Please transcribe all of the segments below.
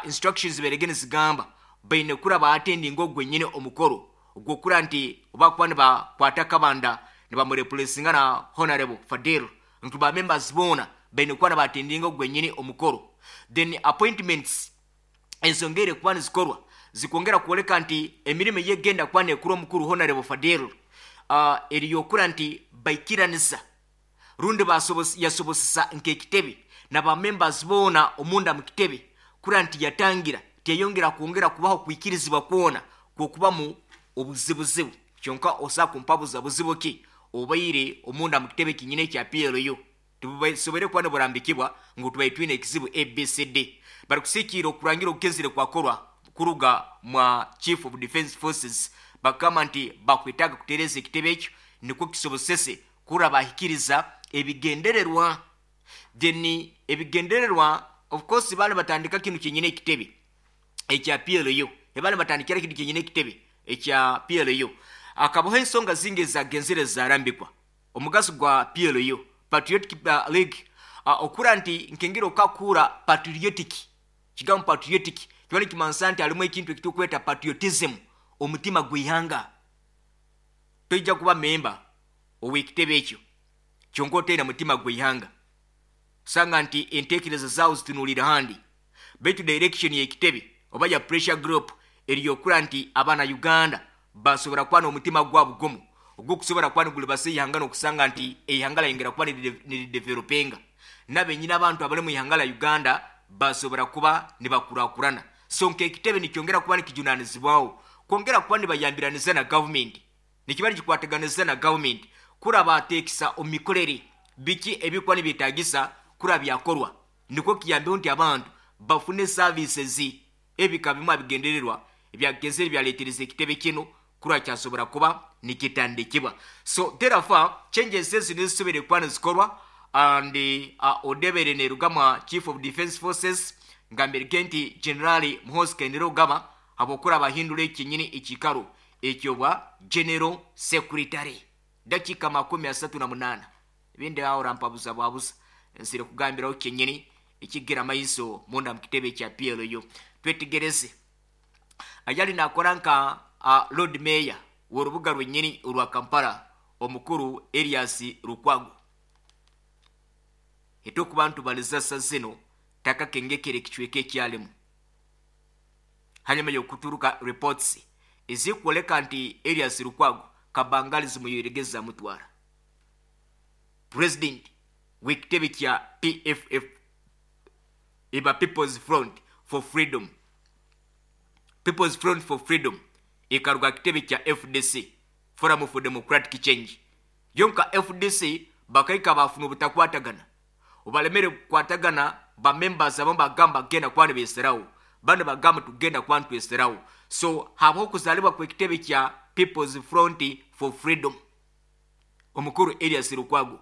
Instructions zibaire nizigamba baine kura baattendinga ogwenyine omukoro ogwokura nti bakuba nibakwata Kabanda nibamureplacinga na Honorable Fadel, nti ba members boona baine kuba nibattendinga ogwenyine omukoro. Then appointments ezongere kuba nizikorwa zikwongera kwoleka nti emirimo yegenda kuba nekura omukuru Honorable Fadel eriyokura nti baikiranisa rundi yasobosesa nk'ekitebe na ba members boona omunda mu kitebe kura nti yatangira teyongera kwongera kubaho kwikirizibwa kwona kwokubamu obuzibuzibu. Kyonka osa kumpabuza buzibu ki obaire omunda mu kitebe kinyine ekya PLU? Tusobore kuba niburambikibwa ngu tubaire twine ekizibu ABCD. Barikusikiira okurangira okugenzire kwakorwa kuruga mwa Chief of Defense Forces, bakagamba nti bakwetaaga kutereeza ekitebe ekyo nikwo kisobosese kura bahikiriza ebigendererwa. Then ebigendererwa, of course, bali batandika kinu kyenyine ekitebe ekya PLU, ebali batandikira kinu kyenyine ekitebe ekya PLU, akabaho ensonga zingi ezagenzere zarambikwa omugaso gwa PLU, Patriotic League, okura nti nkengira okakura patriotic, kigambo patriotic kiba nikimansa nti harimu ekintu ekitukweta patriotism, omutima gw'ihanga. Toija kuba memba ow'ekitebe ekyo kyonka otaine mutima gw'ihanga, osanga nti entekereza zaawe zitunulire handi. Baitu direction y'ekitebe oba ya pressure group eriyokura nti abana Uganda basobora kuba n'omutima gwabo gumu ogw'okusobora kuba nigulibasa ihanga, n'okusanga nti eihanga lyayongera kuba niridevelopenga, nabenyine abantu abali mu ihanga lya Uganda basobora kuba nibakurakurana. So nk'ekitebe nikyongera kuba nikijunanizibwaho kwongera kuba nibayambiraniza na gavumenti, nikiba nikikwataganiza na gavumenti kura bateekisa omu mikorere biki ebikuba nibyetagisa kura byakorwa, nikwo kiyambeho nti abantu bafune services. Ebika bimu abigendererwa ebyagenzere byaletereza ekitebe kino kura kyasobora kuba nikitandikibwa. So therefore changes ezi nizisobere kuba nizikorwa and odebere nerugamwa Chief of Defense Forces, ngambirege nti General Muhoozi Kainerugaba, habwokura bahindura ekinyini ekikaro ekyobwa General Secretary. Dakika 38, ebindi aho rampabuza bwabuza nsire kugambiraho kyenyini ekigira maiso munda mu kitebe kya PLU. Twetegereze ayali nakora nka Lord Mayor w'orubuga rwenyini orwa Kampala, omukuru Erias Lukwago, etokuba ntubaliza zino takakengekere ekicweka ekyalimu hanyuma y'okuturuka reports ezikwoleka nti Erias Lukwago kabangali zimuyoregeza mutwara. President w'ekitebe kya PFF, eba People's Front for Freedom, People's Front for Freedom ekaruga kitebe kya FDC, Forum for Democratic Change. Yonka FDC bakaika bafuna obutakwatagana, obalemere kukwatagana, ba members abamu bagamba genda kuba nibeserawo, bandi bagamba tugenda kuba nitweserawo. So habaho okuzaalibwa kw'ekitebe kya People's Front for Freedom. Omukuru Erias Lukwago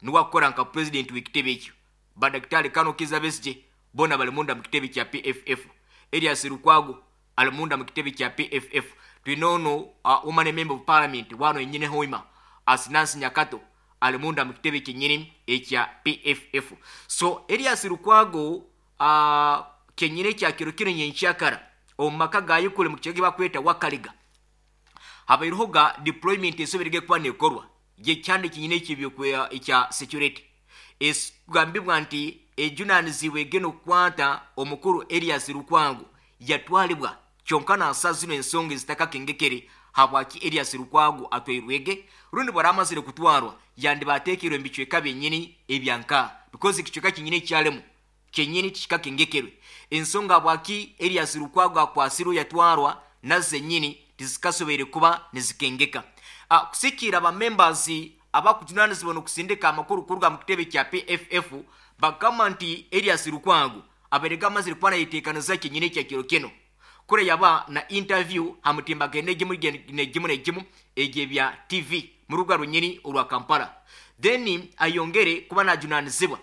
niwe akukora nka president w'ekitebe ekyo. Badakitari Kano Kizza Besigye bona bali munda mu kitebe kya PFF. Erias Lukwago ali munda mu kitebe kya PFF. Twine ono woman member of parliament wano enyine hoima Asinansi Nyakato ali munda mu kitebe kyenyini ekya PFF. So Erias Lukwago kenyini ekya kiro kino nyenkyakara omu maka ga Yukule mu kigo bakweta Wakaliga habaireho ga deployment esoberege kuba nekorwa gyekyande kinyine ekibyo ekya security, ekugambibwa nti ejunanizibwe egenda okukwata omukuru Erias Lukwago yatwalibwa. Kyonka nasa zino ensonga ezitakakengekere habwaki Erias Lukwago atwairwege, rundi bwaramazire kutwarwa yandibateekerwe mu bicweka byenyini ebyanka, because ekicweka kinyini ekyalemu kenyini tikikakengekerwe. Ensonga habwaki Erias Lukwago akwasirwe yatwarwa nazo zenyini tizikasoboire kuba nizikengeka. Kusikiira ba members abakujunanizibwa n'okusindika amakuru kuruga mu kitebe kya PFF, bagamba nti Erias Lukwago abaire amazire kuba nayeteekaniza kyenyini ekya kiro kino kure yaba na interview ha mutimbagano egimu negimu negimu egyebya TV mu rubuga rwenyini orwa Kampala. Then ayongere kuba najunanizibwa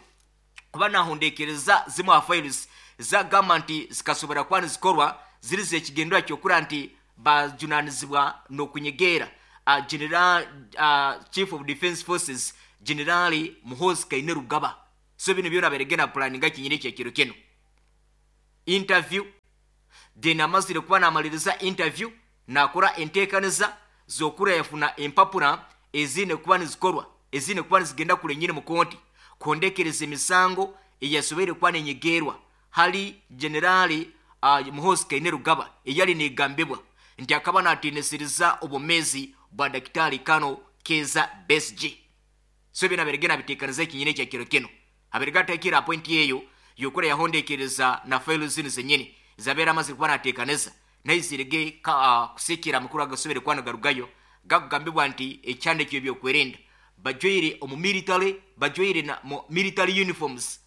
kuba nahondekereza zimwe ha files zagamba nti zikasobora kuba nizikorwa ziri zekigendera kyokura nti bajunanizibwa n'okunyegeera General Chief of Defense Forces General Muhoozi Kainerugaba. So bino byona abaire na planninga kinyini ekyekiro kino interview. Then amazire kuba namaliriza interview, nakora enteekaniza z'okura yafuna empapura ezine kuba nizikorwa, ezine kuba nizigenda kule nyine mu kooti kuhondekereza emisango eyasoboire kuba nenyegerwa hali Generali Muhoozi Kainerugaba, eyali negambibwa nti akaba natiinisiriza obwomeezi bwa Daktari Kano Keza Besigye. So bino aberege nabiteekaniza ekinyine ekya kiro kino, aberege atekire apointi eyo yokura yahondekereza na fayilo zinu zenyini zabeera amazire kuba nateekaniza, naizirege kusikira amakuru agasobere kuba nagarugayo gakugambibwa nti ekyanda ekyo ebyokwerinda bajwaire omu military, bajwaire na mu military uniforms,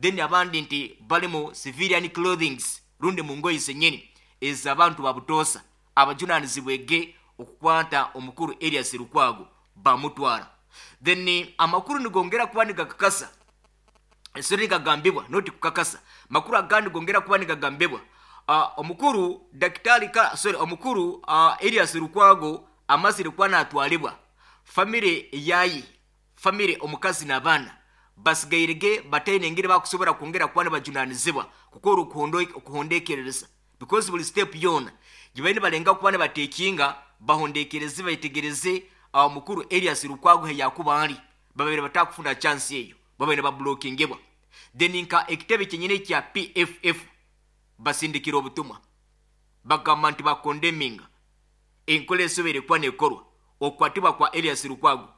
then abandi nti bali mu civilian clothings rundi mu ngoyi zenyini ez'abantu babutoosa abajunanizibwege okukwata omukuru Erias Lukwago bamutwara. Then amakuru nigongera kuba nigakakasa, esori nigagambibwa noti kukakasa, makuru agandi gongera kuba nigagambibwa omukuru daktari ka, sorry, omukuru Erias Lukwago amazire kuba natwalibwa, famire yayi, famire omukazi n'abaana basigairege bataine engeri bakusobora kwongera kuba nibajunanizibwa kukora okuhondekerereza, because buli step yona gibaine balenga kuba nibatekinga bahondekereze baitegereze omukuru Erias Lukwago he yakuba ali, babere batakufuna chance eyo, babaine bablockingebwa. Then nka ekitebe kyenyine kya PFF basindikira obutumwa bagamba nti bakondeminga enkola esobere kuba nekorwa okukwatibwa kwa Erias Lukwago,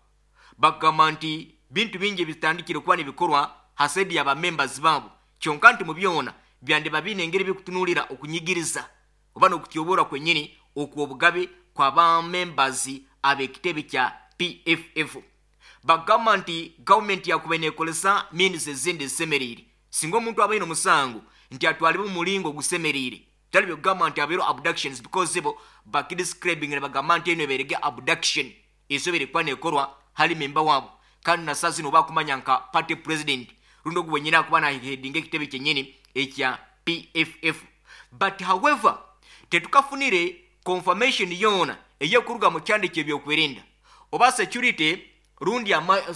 bagamba nti bintu bingi bitandikire kuba nibikorwa hasedi ya members babo, kyonka nti mu byona byande babine engeri bikutunulira okunyigiriza oba n'okutyobora kwenyini okw'obugabe kwa ba members ab'ekitebe kya PFF. Bagamba nti gavumenti yakuba neekolesa means ezindi ezisemeriire singa omuntu abaine omusango nti atwalibwe mu mulingo ogusemeriire, tali byokugamba nti abeero abductions, because bo bakidescribing ne bagamba nti eno ebeerege abduction esobere kuba neekorwa hali memba waabo, kandi na saa zino bakumanya nka party president rundi ogu wenyini akuba nahedinga ekitebe kyenyini ekya PFF. But however tetukafunire confirmation yona eyekuruga mu kyanda ky'ebyokwerinda oba security rundi ama,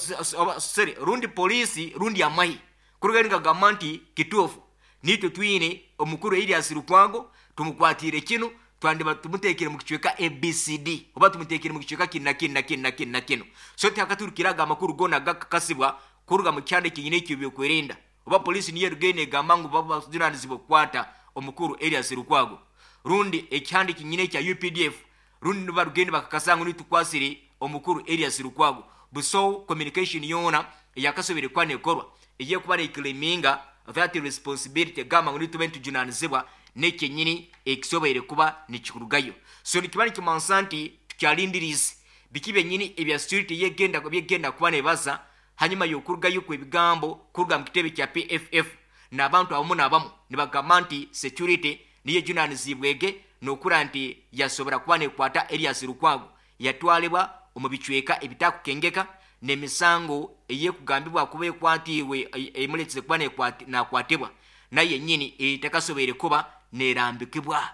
sorry, rundi polisi rundi amahi kuruga nigagamba nti kituufu nitwe twine omukuru Erias Lukwago tumukwatire kino, twandiba tumutekere mu kicweka ABCD oba tumutekere mu kicweka kino na kino na kino na kino na kino. So tihakaturukiraga amakuru gona gakakasibwa kuruga mu kyanda kyenyine ekyo ebyokwerinda oba polisi niyo erugenda egamba ngu babajunanizibwa okukwata omukuru Erias Lukwago, rundi ekihandi kyenyine ekya UPDF rundi nibarugenda bakakasa ngu nitukwasire omukuru Erias Lukwago. Buso communication yona eyakasobere kuba nekorwa eyekuba neclaiminga that responsibility gamba ngu nitube ntujunanizibwa nekyenyini ekisoboire kuba nikikurugayo. So nikiba nikimansa nti tukyalindirize biki byenyini ebya security yegenda byegenda kuba nebaza hanyuma y'okurugayo kw'ebigambo kuruga mu kitebe kya PFF n'abantu abamu n'abamu nibagamba nti security niyo ejunanizibwege n'okura nti yasobora kuba nekwata Erias Lukwago yatwalibwa omu bicweka ebitakukengeka n'emisango eyekugambibwa kuba ekwatiibwe emuletize kuba nakwatibwa naye nyini etakasoboire kuba nerambikibwa.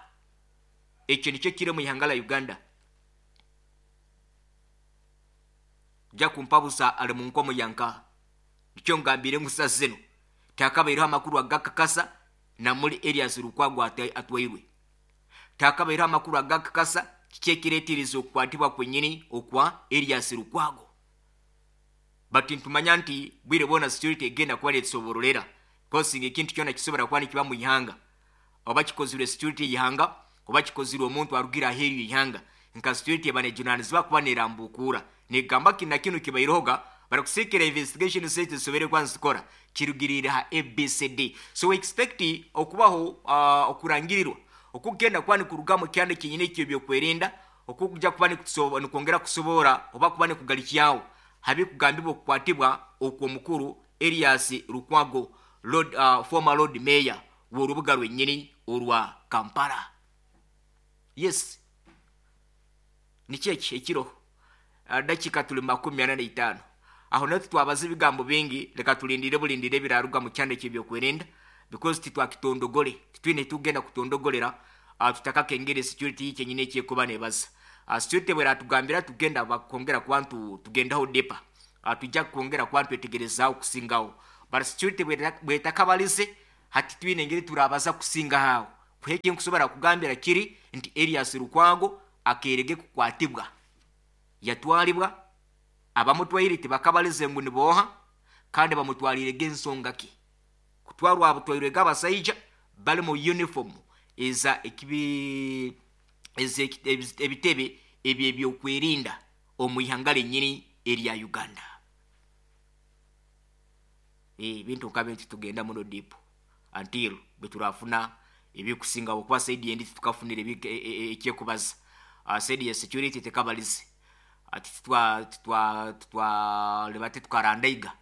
Ekyo nikyo kiri mu ihanga la Uganda. Ja kumpabusa ali mu nkomo yanka nikyo ngambire ngusa zino takabaireho amakuru agakakasa namuli Erias Lukwago atwairwe, takabaireho amakuru agakakasa kikyekireetiriza okukwatibwa kwenyini okwa Erias Lukwago. But ntumanya nti bwire bwona security egenda kuba netusoborolera kosinga ekintu kyona kisobora kuba nikiba mu ihanga oba kikozirwe security y'ihanga oba kikozirwe omuntu arugira aheeru y'ihanga, nka security eba nejunanizibwa kuba nerambukura negamba kina kino kibairohoga barakusikira investigation state zisobere kuba nizikora kirugirire ha ABCD. So we expect okubaho okurangirirwa okugenda kuba nikuruga mu kyanda kyenyine ekyo ebyokwerinda okukujja kuba nikwongera kusobora oba kuba nikugalikyawo habikugambibwa okukwatibwa okw'omukuru Erias Lukwago, former Lord Mayor w'orubuga rwennyini orwa Kampala. Yes, nikyo eki ekiro dakika tuli 45 aho natwe twabaza ebigambo bingi, leka tulindire bulindire ebiraruga mu kyanda eky'ebyokwerinda because titwakitondogole, titwine tugenda kutondogolera tutakakengere security kyenyine ekyekuba nebaza. Security bweratugambira tugenda bakwongera kuba tugendaho depa, tujja kwongera kuba twetegerezaaho kusingaho, but security bwetakabalize hati twine engeri turabaza kusinga aho. Kuheki nkusobora kugambira kiri nti Erias Lukwago akerege kukwatibwa, yatwalibwa, abamutwaire tibakabalize ngu niboha, kandi bamutwalirege ensonga ki. Kutwarwa abutwairwege abasaija bali mu uniform eza ekibi eza ebitebe ebyo ebyokwerinda omu ihanga lenyini erya Uganda. Ebintu nka bintu tugenda muno deep until bweturafuna ebikusinga okuba side endi tukafunire ekyekubaza. Side ya security tekabalize ati titwa leba tukarandaiga.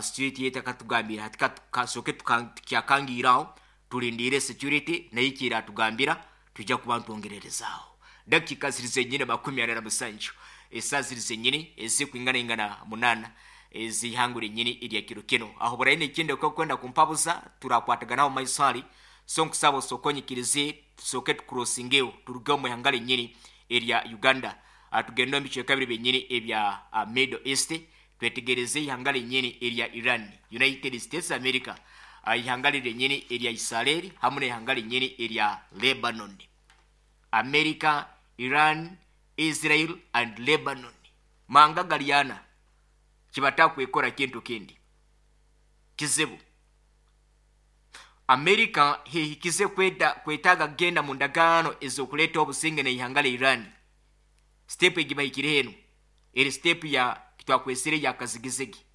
Security yetakatugambira hati kasoke tukyakangiraho tulindire security nayo kiratugambira tujja kuba ntwongererezaaho. Dakika ziri zenyine 47, esaa ziri zenyini ezikwingana ingana 8 ezihangura enyini erya kiro kino. Aho buraine ekindi okwenda kumpabuza turakwataganaho maiso hali, so nkusaba osokonyikirize tusoke tukurosingeho turuge omu ihanga lenyini erya Uganda, tugende omu bicweka biri byenyini ebya Middle East, twetegereze ihanga lenyini erya Iran, United States America, ihanga lenyini erya Israel hamwe n'ihanga lenyini erya Lebanon. America, Iran, Israel and Lebanon manga galiana kibatakwekora kintu kindi kizibu. America hehikize kwetaga kugenda mu ndagaano ezokuleta obusinge n'ihanga la Iran. Step egibahikire heno eri step ya kitwakwesire ya kazigizigi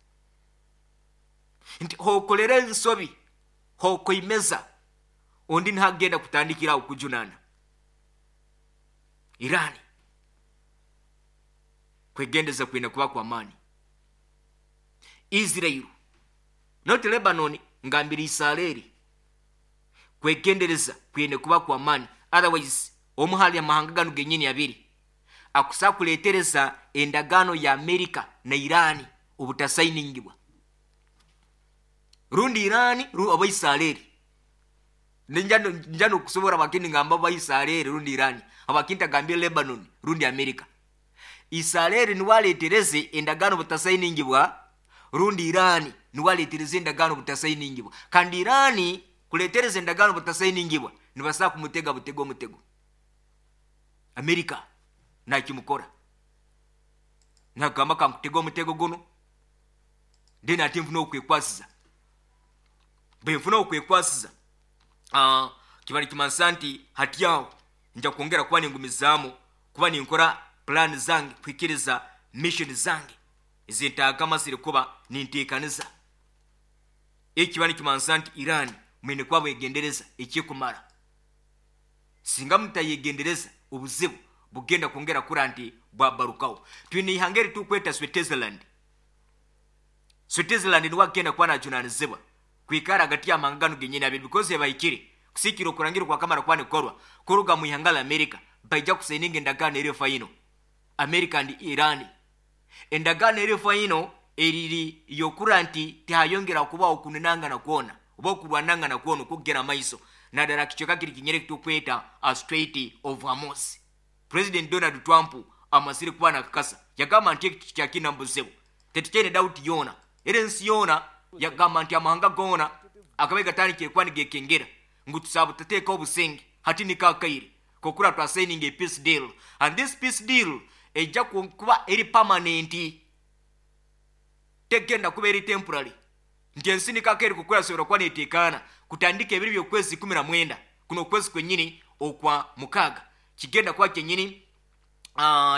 nti hokolera ensobi hokoimeza ondi ntagenda kutandikira okujunana Iran. Kwegendeza kwina kuba kwa amani. Israel not Lebanon, ngambira Israeli kwegendereza kwine kuba kwa amani, otherwise omuhali amahanga gano genyini abiri akusa kuletereza endagano ya America na Iran obutasainingibwa, rundi Iran oba Israeli. Njano kusobora bakini ngamba ba Israeli rundi Iran, abakinta gambia Lebanon rundi America. Israeli niwaletereze endagano butasainingibwa, rundi Iran niwaletereze endagano butasainingibwa. Kandi Iran kuletereza endagano butasainingibwa nibasa kumutega butego mutego. America nakimukora nagamba kankutega omutego guno then ati nfuna okwekwasiza, bwe nfuna okwekwasiza kibali kimansa nti hati aho nja kwongera kuba ningumizaamu kuba ninkora plan zange kuhikiriza mission zange ezintagama ziri kuba ninteekaniza. Ekiba nikimansa nti Iran mwine kuba bwegendereza ekikumara, singa mutayegendereza obuzibu bugenda kwongera kura nti bwabarukaho. Twine ihanga eri tukweta Switzerland. Switzerland niwe agenda kuba najunanizibwa kwikara hagati y'amahanga genyini abiri because yabahikire kusikira okurangira kwa kamara kuba nikorwa kuruga mu ihanga la America baija kusaininga endagaano eri final America and Iran. Endagaano eri final eriri yokura nti tihayongera kubaho okunenangana kwona oba okurwanangana kwona okugera maiso naddala kicweka kiri kinyere kitukweta a Strait of Hormuz. President Donald Trump amasire kuba nakakasa yagamba nti ekyo kyakina mbuzibu tetukyene doubt yona era ensi yona yagamba nti amahanga gona akabe gatandikire kuba nigekengera ngu tusaba tuteeka obusinge hati nikakaire kokura twa signing a peace deal, and this peace deal ejja kuba eri permanent, tegenda kuba eri temporary. Nti ensi nikakaire kukura sobora kuba neteekaana kutandika ebiri by'okwezi 19 kuno okwezi kwenyini okwa 6 kigenda kuba kyenyini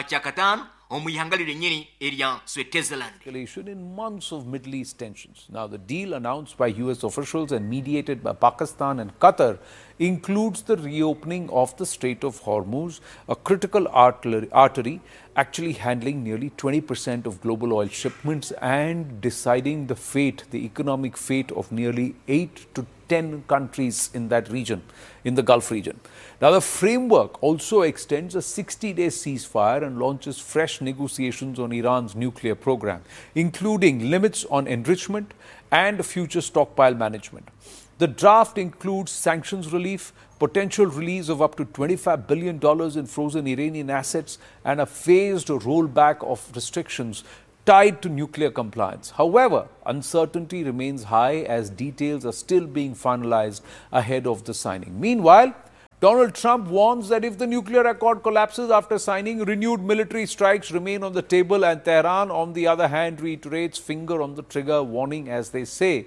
kyakataano omu ihanga lyenyini erya Switzerland. In months of Middle East tensions. Now, the deal announced by US officials and mediated by Pakistan and Qatar includes the reopening of the Strait of Hormuz, a critical artery actually handling nearly 20% of global oil shipments and deciding the fate, the economic fate of nearly 8 to 10 countries in that region, in the Gulf region. Now, the framework also extends a 60-day ceasefire and launches fresh negotiations on Iran's nuclear program, including limits on enrichment and future stockpile management. The draft includes sanctions relief, potential release of up to $25 billion in frozen Iranian assets, and a phased rollback of restrictions tied to nuclear compliance. However, uncertainty remains high as details are still being finalized ahead of the signing. Meanwhile, Donald Trump warns that if the nuclear accord collapses after signing, renewed military strikes remain on the table, and Tehran, on the other hand, reiterates finger on the trigger warning, as they say,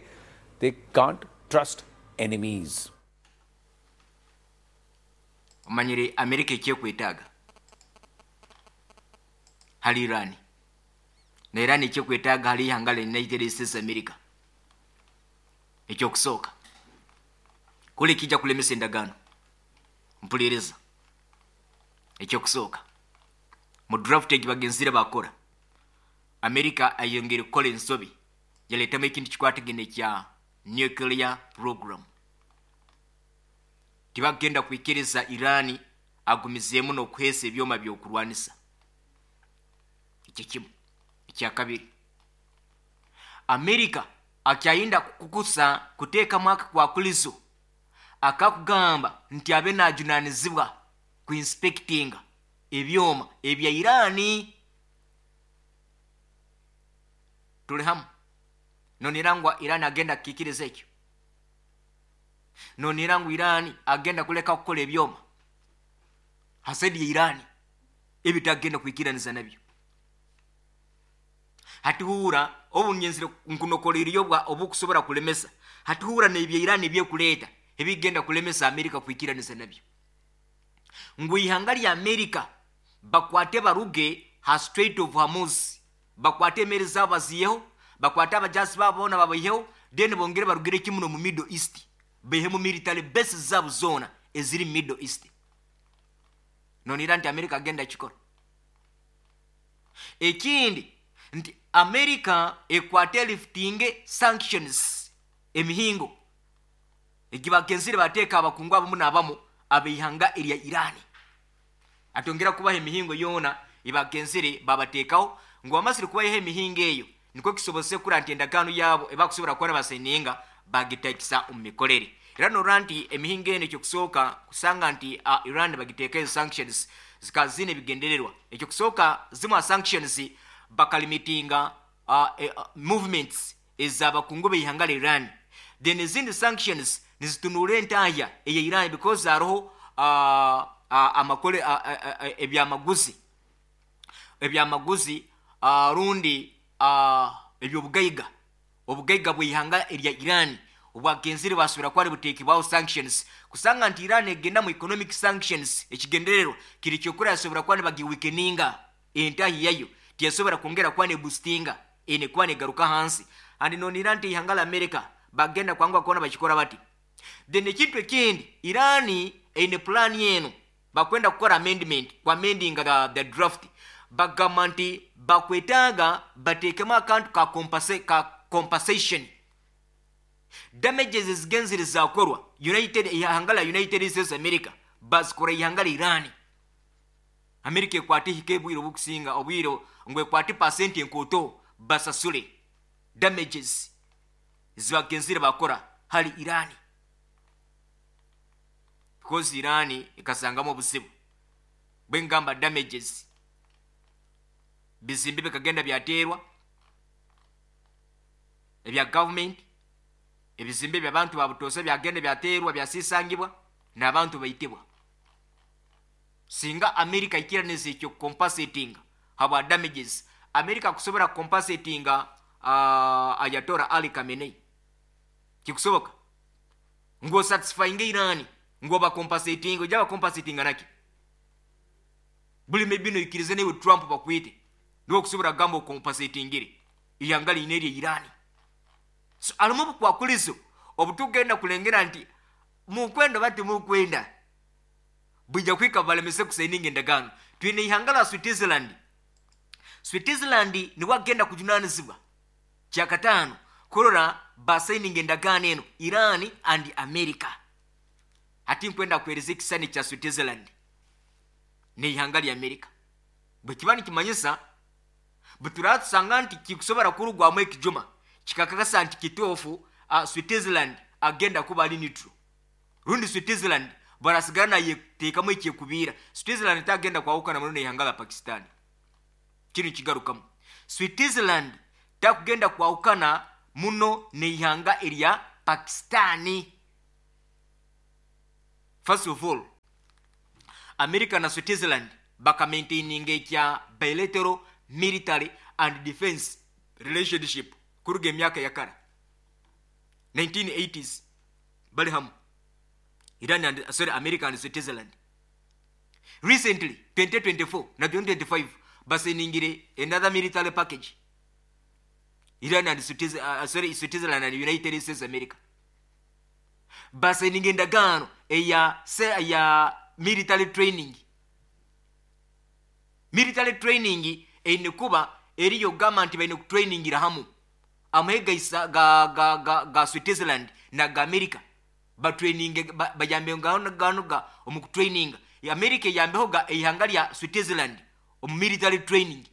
they can't trust enemies. Omanyire Amerika ekyekwetaaga hali Irani, na Irani ekyekwetaaga hali ihanga lya United States America. Ekyokusooka kuli kijja kulemesa endagaano. Mpuliriza, ekyokusooka mu draft egi bagenzire bakora, Amerika ayongere kukola ensobi yaleetamu ekintu kikwatagene kya nuclear program. Tibagenda kwikiriza Irani agumizeemu n'okuheesa ebyoma by'okurwanisa. Ekyo kimu. Ekyakabiri, Amerika akyayinda kukusa kuteekamu akakwakulizo akakugamba nti abe najunanizibwa ku inspectinga ebyoma ebya Irani. Tuli hamu? Nonira ngu Irani agenda kukikiriza ekyo? Nonira ngu Irani agenda kuleka kukola ebyoma hasedi ya Irani ebitagenda kwikiraniza nabyo? Hatihuura obunyenzire nkunokoleriyo bwa obukusobora kulemesa. Hatihuura n'ebya Irani ebyekuleeta ebigenda kulemesa Amerika kwikiraniza nabyo. Ngu ihanga lya Amerika bakwate baruge ha Strait of Hormuz, bakwate emeri zabo baziyeho, bakwate abajasi babo bona babayiheho, then bongere barugire kimuno mu Middle East, baihemu military bases zabo zona eziri Middle East. Nonira nti Amerika agenda kikora. Ekindi nti Amerika ekwate liftinge sanctions, emihingo egibagenzire bateeka abakungu abamu n'abamu abeihanga erya Irani, atongera kubaha emihingo yoona ebagenzire babateekaho. Ngu bamasire kubaha emihingo eyo, nikwo kisobose kura nti endagaano yaabo ebakusobora kuba baseninga bagitakisa omu mikorere. Era norora nti emihingo eno, ekyokusooka kusanga nti Iran bagiteekayo sanctions zikaba zine ebigendererwa. Ekyokusooka, zimu ha sanctions bakalimitinga movements ez'abakungu b'eihanga lya Iran. Then ezindi sanctions nizitunuura entahya eya Iran, because hariho amakole ebyamaguzi rundi ebyobugaiga, obugaiga bw'eihanga erya Iran obwagenzire basubira kuba buteekebwaho sanctions, kusanga nti Iran egenda mu economic sanctions. Ekigendererwa kiri kyokura yasobora kuba nibagiweakeninga entahi yayo, tiyasobora kwongera kuba neboostinga, ene kuba negaruka hansi. And nonira nti ihanga la America bagenda kwangwa kuona bakikora bati. Then ekintu ekindi, Irani eine plan eno bakwenda kukora amendment, ku amending the draft. Bagamba nti bakwetaaga bateekemu akantu ka compensation, damages ezigenzire zakorwa United, ihanga la United States America bazikora ihanga la Irani. Amerika ekwate hika ebwire obukusinga obwire ngu ekwate pasenti enkoto basasule damages zibagenzire bakora hali Irani, because Irani ekasangamu obuzibu bwengamba damages, bizimbe bikagenda byateerwa ebya government, ebizimbe by'abantu babutosa byagenda byateerwa, byasisangibwa n'abantu baitibwa. Singa America ikiraniza ekyo compensating habwa damages, America kusobora compensatinga Ayatollah Ali Khamenei, kikusoboka ngo satisfying Irani ngo ba compensating? Ojaba compensating naki? Buli maybe no ikirize newe Trump bakwite niwo kusobora gamba compensatingire ihanga line erya Irani. So alimu bukwakulizo obutugenda kulengera nti mukwenda bati mukwenda bwija kwika balemese kusayininga endagaano. Twine ihanga la Switzerland. Switzerland niwe agenda kujunanizibwa kyakataano kurora basayininga endagaano eno Iran and America. Hati nkwenda kuhereza ekisani kya Switzerland n'ihanga lya America. Bwe kiba nikimanyisa bwe nti kikusobora kurugwamu ekijuma kikakakasa nti kituufu, Switzerland agenda kuba ali neutral, rundi Switzerland barasigara nayeteekamu ekyekubiira. Switzerland tagenda kwawukana muno n'ihanga la Pakistan. Kino kigarukamu. Switzerland takugenda kwahukana muno n'eihanga erya Pakistani. First of all, America na Switzerland bakamaintaininga ekya bilateral military and defense relationship kuruga emyaka ya kara 1980s, bali hamu Iran and, sorry, America and Switzerland. Recently 2024 na 2025 baseningire another military package, Iran and sorry, Switzerland and United States America baseninga endagaano eya military training. Military training eine kuba eriyo kugamba nti baine kutrainingira hamu amahe ga, ga, ga, ga Switzerland na ga America, batraininge bayambe gano gano ga omu kutraininga. America eyambeho ga eihanga lya Switzerland omu military training.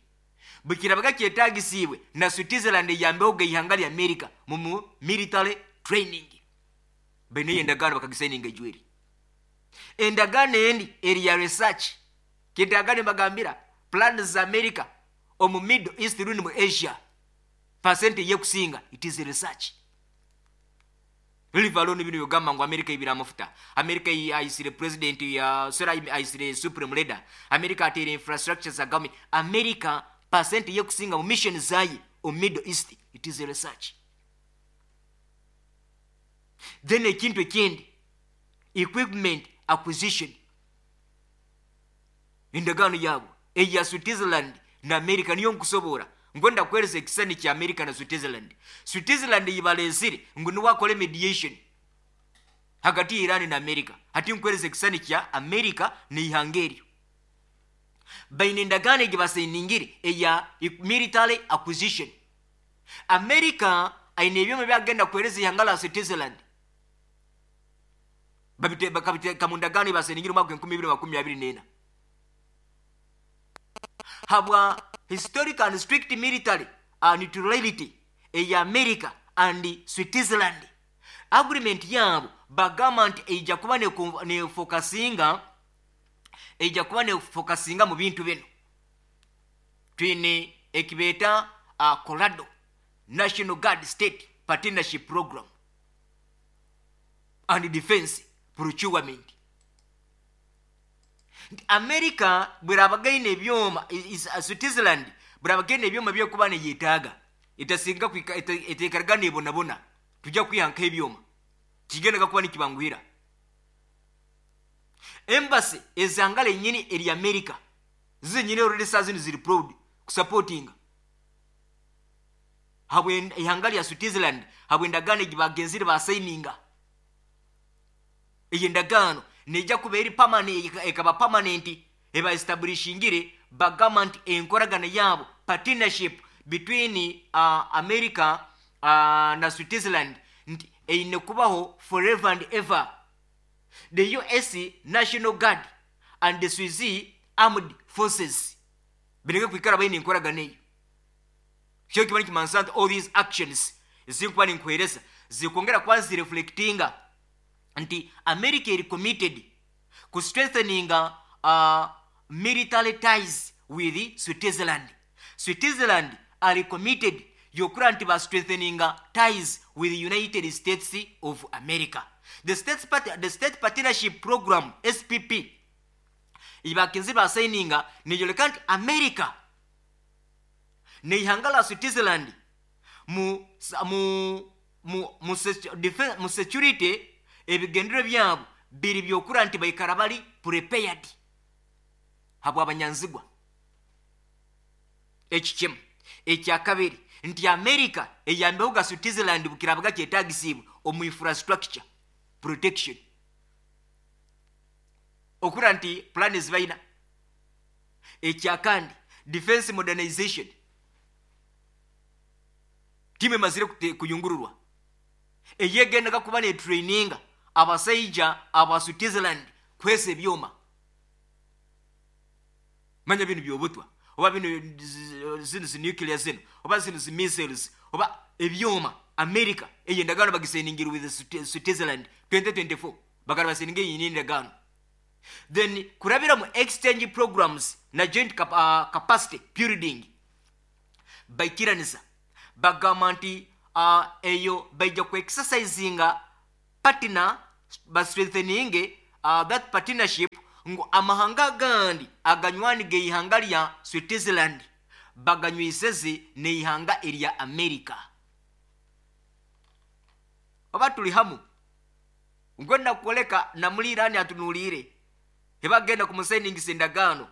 Bukirabaga kyetagisiibwe na Switzerland eyambeho ga ihanga lya America mu military training. Baine eyo endagaano bakagisayininga ejweri. Endagaano endi eri ya research. Kindagaano mbagambira plans za America omu Middle East rundi mu Asia, percent eyekusinga it is research. Leave alone bino byogamba ngu America ibira amafuta, America ayisire president ya, sorry, ayisire supreme leader, America ateire infrastructure za government. America percent eyekusinga mu mission zaye omu Middle East it is research. Then ekintu ekindi, equipment acquisition. Endagaano yaabo eya Switzerland na America niyo nkusoboora ngo ndakuhereza ekisani kya America na Switzerland. Switzerland yibalesire ngu niwe akore mediation hagati ya Iran na America. Hati nkuhereza ekisani kya America n'eihanga eryo. Baine endagaano egi basainingire eya military acquisition. America aine ebyoma byagenda kuhereza ihanga la Switzerland, bakabiteeka mu ndagaano basainingire omwaka 2024 habwa historic and strict military neutrality eya America and Switzerland. Agreement yaabo bagamba nti eija kuba nefokasinga, eija kuba nefokasinga mu bintu bino. Twine ekibeeta Colorado National Guard State Partnership Program and Defense Procurement. Nti America bwerabagaine ebyoma, Switzerland bwerabagaine ebyoma byekuba neyetaaga, etasinga etekaraga nebonabona tujja kwihankaho ebyoma kigendaga kuba nikibanguhira. Embassy ezangala enyini eri America zinyini already saa zino ziri proud kusupportinga habwe ihanga lya Switzerland, habwe endagaano egi bagenzire basayininga. Eyo endagaano nejja kuba eri permanent, ekaba permanent eba establishingire. Bagamba nti enkoragana yaabo, partnership between America na Switzerland, nti eine kubaho forever and ever. The US National Guard and the Swiss Armed Forces bireke kwikara baine enkoragana eyo. Kyo kiba nikimanisa nti all these actions zinkuba ninkuhereza zikwongera kuba zireflectinga nti America eri committed ku strengthening military ties with Switzerland. Switzerland are committed yokura nti ba strengthening ties with the United States of America. The State Partnership Program, SPP, ibakinzi basayininga neyoleka nti America neihanga la Switzerland mu security ebigendero byabo biri byokura nti baikara bali prepared habwa abanyanzigwa. Eki kimu. Ekyakabiri nti America eyambeho ga Switzerland bukirabaga kyetagisibwe omu infrastructure protection, okura nti plan zibaina. Ekyakandi, defense modernization timu emazire kuyungururwa eyegendaga kuba netraininga abasaija aba Switzerland kwesa ebyoma. Manya bino byobutwa oba bino zino zi nuclear zino oba zino zi missiles oba ebyoma. America eyo endagaano bagisayiningira with Switzerland 2024, bagala basayininga eyo endagaano. Then kurabira mu exchange programs na joint capacity building. Baikiraniza bagamba nti eyo baija ku exercisinga partner, bastrengthening that partnership, ngu amahanga agandi aganywani geihanga lya Switzerland baganywiseze neihanga erya America. Oba tuli hamu? Ngwenda kukoleka namuli Irani atunuliire ebagenda kumusainingisa endagaano.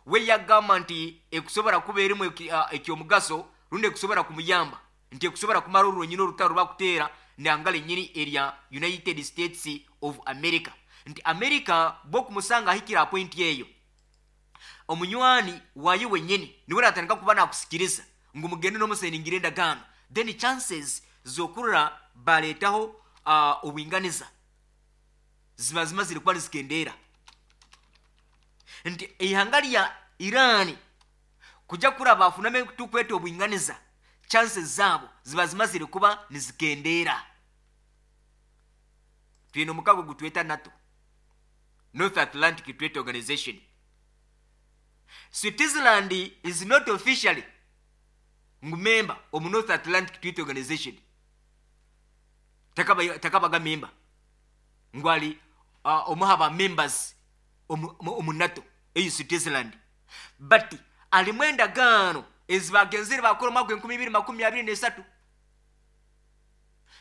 We yagamba nti ekusobora kuba erimu ekyomugaso rundi ekusobora kumuyamba, nti ekusobora kumara orwonyini orutaro rwakuteera nanga lenyini erya United States of America, nti America bwokumusanga ahikire aha point eyo, omunywani wayo wenyini niwe natandika kuba nakusikiriza ngu mugende n'omusainingire endagaano, then chances zokurora baleetaho obwinganiza ziba zimazire kuba nizikendeera. Nti eihanga lya Irani kujja kuraba afuname tukweta obwinganiza, chances zaabo ziba zimazire kuba nizikendeera. Twine omukago gutweta NATO, North Atlantic Treaty Organization. Switzerland is not officially ngu member omu North Atlantic Treaty Organization, takabaga member ngu ali omuha ba members omu NATO eyi Switzerland, but alimu endagaano ezibagenzere bakora omwaka 2023,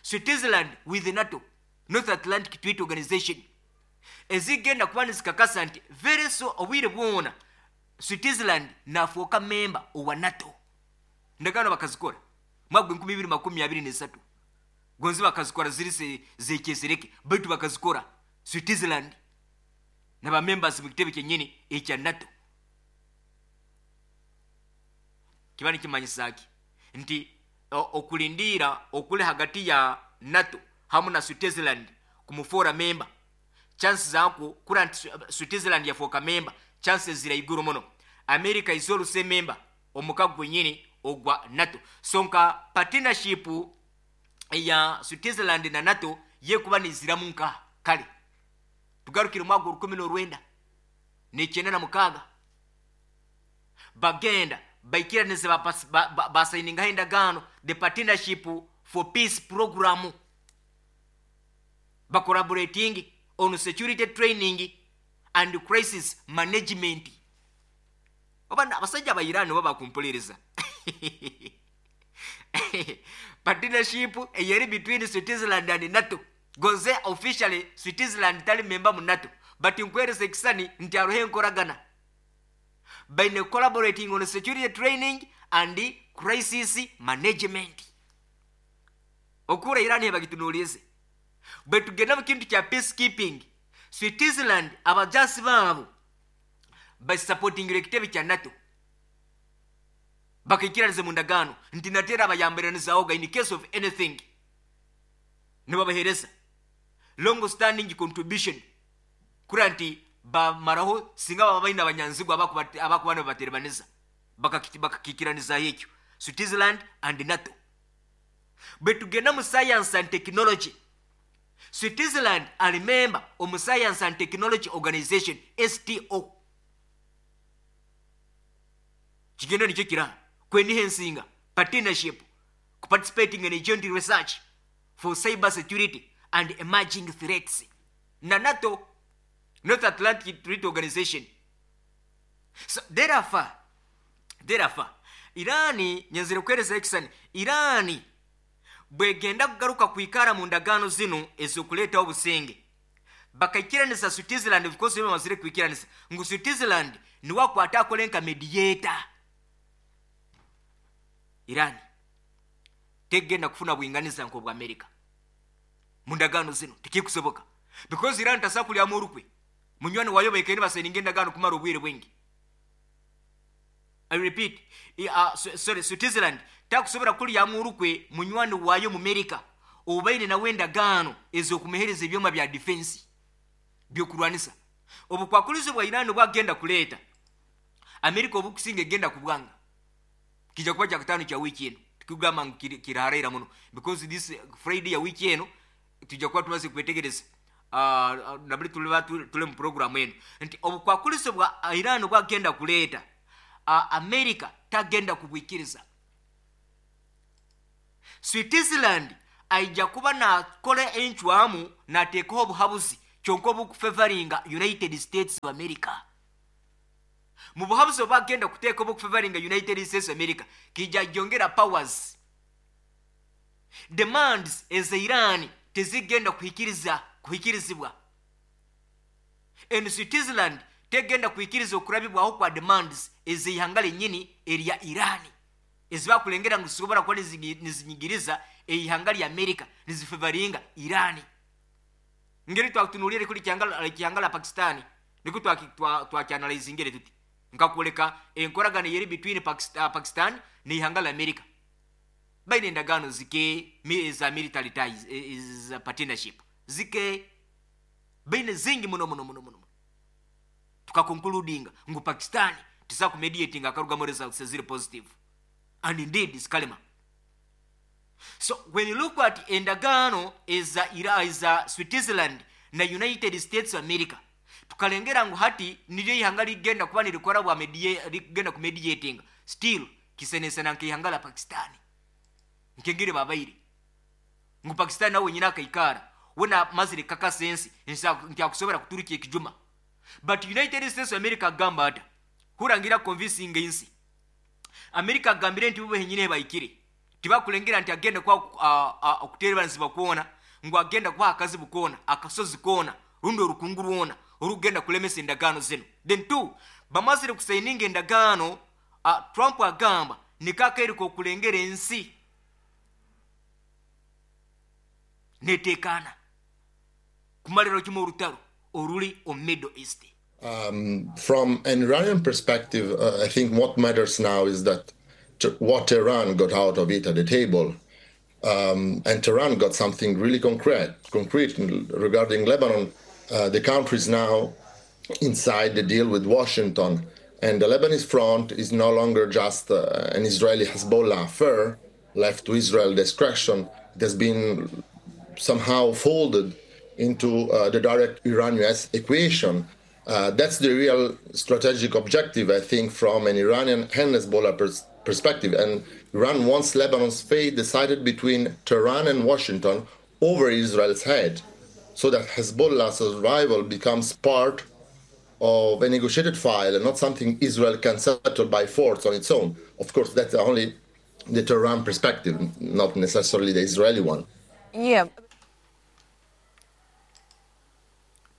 Switzerland with NATO, North Atlantic Treaty Organization, ezigenda kuba nizikakasa nti very so obwire bwona Switzerland nafuuka member owa NATO. Endagaano bakazikora mwaka 2023, gonzi bakazikora ziri zekyezereke, baitu bakazikora Switzerland naba members mu kitebe kyenyini ekya NATO. Kiba nikimanyisa ki? Nti okulindira okuli hagati ya NATO hamu na Switzerland kumufuura member, chances zako kura nti Switzerland yafuuka member, chances zira iguru muno. America is also member omukago gwenyini ogwa NATO, so nka partnership ya Switzerland na NATO yekuba niziramu nka kale. Tugarukire mwaka 1996, bagenda baikiraniza basayiningaho endagaano, the Partnership for Peace Program, bacollaborating on security training and crisis management. Oba abasajja ba Iran oba bakumpuliriza, partnership eyeri between Switzerland and NATO, goze officially Switzerland tali member mu NATO, but nkweresa ekisani nti aroho enkoragana, baine collaborating on security training and crisis management. Okura Iran hebagitunulize bwe tugenda mu kintu kya peacekeeping, Switzerland abajasi baabo basupportingira ekitebe kya NATO, bakaikiraniza mu ndagaano nti natera abayambiranizaoga in case of anything, nibabahereza long standing contribution kura nti bamaraho singa baba baine abanyanzigwa abakuba nibabaterebaniza, bakakikiranizaho ekyo Switzerland and NATO. Bwe tugenda mu science and technology, Switzerland ali member omu Science and Technology Organization, STO. Kigenda nikyo kiraha kweniha ensinga partnership participating in joint research for cyber security and emerging threats na NATO, North Atlantic Treaty Organization. So therefore Irani nyenzire kwereza ekisani, Irani bwegenda kugaruka kwikara mu ndagaano zino ezokuleetaho obusenge, bakaikiranisa Switzerland, of course bamazire kwikiranisa ngu Switzerland niwe akwata akole nka mediator. Iran tegenda kufuna bwinganiza nk'obwa America mu ndagaano zino, tikikusoboka, because Iran tasobola kulyamu orukwe munywani wayo baikaire basayininga endagaano kumara obwire bwingi. I repeat, sorry, Switzerland takusobola kulyamu orukwe munywani wayo mu America obaine nawe endagaano ez'okumuhereza ebyoma bya defense byokurwanisa. Obukwakulizo bwa Iran bwagenda kuleeta America obukusinga egenda kubwanga kijja kuba kyakutaano kya wiiki eno, tikugamba ngu kiraharaira muno, because this Friday ya wiiki eno tujja kuba tumaze kwetegereza nabuli tuliba tuli mu program eno nti obukwakulizo bwa Iran bwagenda kuleeta, America tagenda kubwikiriza. Switzerland aija kuba nakora encwamu nateekaho obuhabuzi kyonka obukufevaringa United States of America. Mu buhabuzi obwagenda kuteeka obukufevaringa United States of America, kijja gyongera powers. Demands eza Iran tezigenda kuhikirizibwa. And Switzerland tegenda kuhikiriza okurabibwaho kwa demands ez'eihanga lennyini erya Iran, ezibakulengera ngu zisobora kuba nizinyigiriza eihanga lya America, nizifevaringa Iran. Ngeri twakutunuulire kuli kyanga la Pakistan, niko twakyanalizingire tuti nkakuleka enkoragano yeri between Pakistan n'eihanga la America. Baine endagaano zike za military ties, za partnership zike baine zingi muno muno muno muno. Tukakonkludinga ngu Pakistan tisa kumediating akarugamu results ziri positive, and indeed zikalema. So when you look at endagaano eza eza Switzerland na United States of America, tukalengera ngu hati niryo ihanga ligenda kuba nirikora bwa ligenda ku mediating still kisenesena nk'ihanga la Pakistan nkengere babaire ngu Pakistan nawe nyina akaikara wena mazire kakasensi nti akusobora kuturukia ekijuma. But United States of America agamba ata hurangira convincing ensi. America agambire nti bube nyine baikire tibakulengera nti agenda kwa okuterebanizibwa kuona ngu agenda kwa akazibu kuona akasozi kuona rundo orukungu rwona orugenda kulemesa endagaano zino. Then two, bamazire kusaininga endagaano, Trump agamba nikakairiko okulengera ensi netekana kumalira kimu orutaro oruli omu Middle East. From an Iranian perspective, I think what matters now is that what Tehran got out of it at the table. And Tehran got something really concrete regarding Lebanon. The country is now inside the deal with Washington, and the Lebanese front is no longer just an Israeli Hezbollah affair left to Israel discretion. It has been somehow folded into the direct Iran-US equation. That's the real strategic objective, I think, from an Iranian and Hezbollah perspective. And Iran wants Lebanon's fate decided between Tehran and Washington over Israel's head, so that Hezbollah's survival becomes part of a negotiated file and not something Israel can settle by force on its own. Of course, that's only the Tehran perspective, not necessarily the Israeli one. Yeah.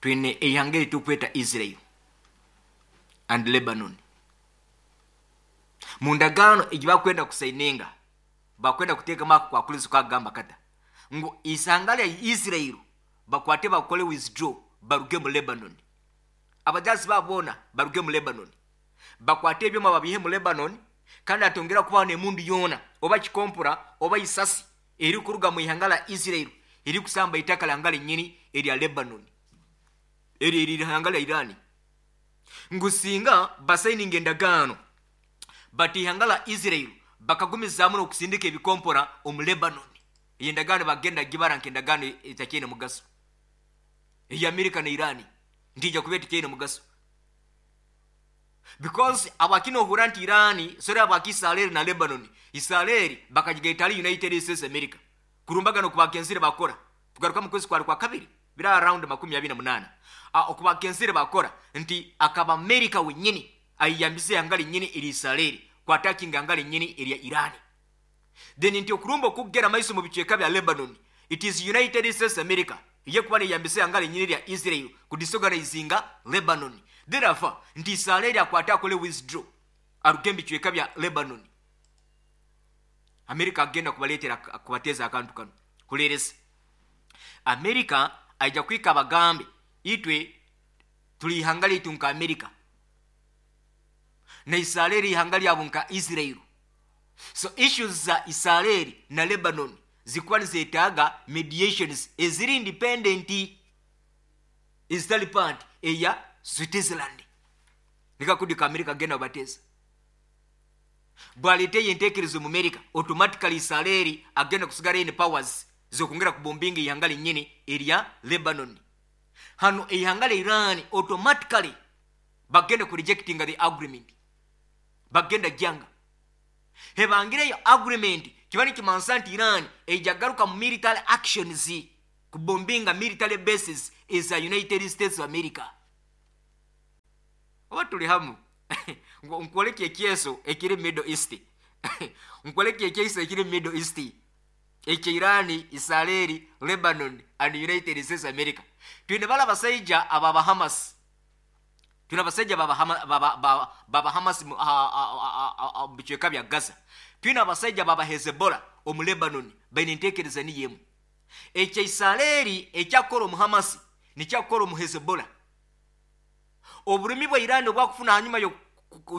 Twine eihanga eritukweta Israel and Lebanon. Mu ndagaano egi bakwenda kusaininga, bakwenda kuteekamu ako kwakulizo kagamba kata ngu isanga lya Israel bakwate bakole withdraw baruge mu Lebanon. Abajazi babona baruge mu Lebanon, bakwate ebyoma babihe mu Lebanon, kandi atongera kubaho n'emundu yoona oba kikompura oba isasi eri kuruga mu ihanga la Israel eri kusamba itaka la ngale nnyini erya Lebanon, eri eri ihanga la Iran. Ngu singa basayininga endagaano but ihanga la Israel bakagumizaamu n'okusindika ebikompora omu Lebanon, eyo endagaano bagenda gibara nk'endagaano etakyine mugaso. Eya America na Iran ntija kuba etakyine mugaso, because abakina ohura nti Iran sore abaki Israel na Lebanon, Israel bakagigaita ali United States America kurumbagano kubakenzire bakora tugaruka mu kwezi kwa kabiri bira around 28 okubakenzire bakora nti akaba America wenyini ayiyambise angali nyini eri Israel kwa attacking angali nyini eri Iran. Then nti okurumba okugera maiso mu bicweka bya Lebanon, it is United States America ye kuba yambise angali nyini ya Israel ku disorganizinga Lebanon. Therefore nti Israel akwata akole withdraw aruge mu bicweka bya Lebanon. America agenda kubaletera kubateza akantu kano kuleresa America aija kwika abagambe itwe tuli ihanga litu nka America na Israel ihanga lyabo nka Israel. So issues za Israel na Lebanon zikuwa nizetaaga mediations eziri independent ezitali part eya Switzerland. Nikakudika America genda bateza bwalete yentekerezo mu America, automatically Israel agenda kusigara in powers zokongera kubombinga ihanga linyini erya Lebanon. Hano ihanga la Iran automatically bagenda ku rejecting the agreement, bagenda janga hebangireyo agreement Kiba nikimansa nti Iran eija garuka mu military actions kubombinga military bases eza United States of America. Oba tuli hamu? Nkwoleke ekyeso ekiri Middle East, nkwoleke ekyeso ekiri Middle East ekya Irani, Israeli, Lebanon and United States America. Twine bala abasaija aba Hamas, twine abasaija baba Hamas mu bicweka bya Gaza, twine abasaija baba Hezbollah omu Lebanon. Baine entekereza niyo emu. Ekya Israeli ekyakukora omu Hamas nikyakukora omu Hezbollah. Oburumi bwa Irani obwakufuna hanyuma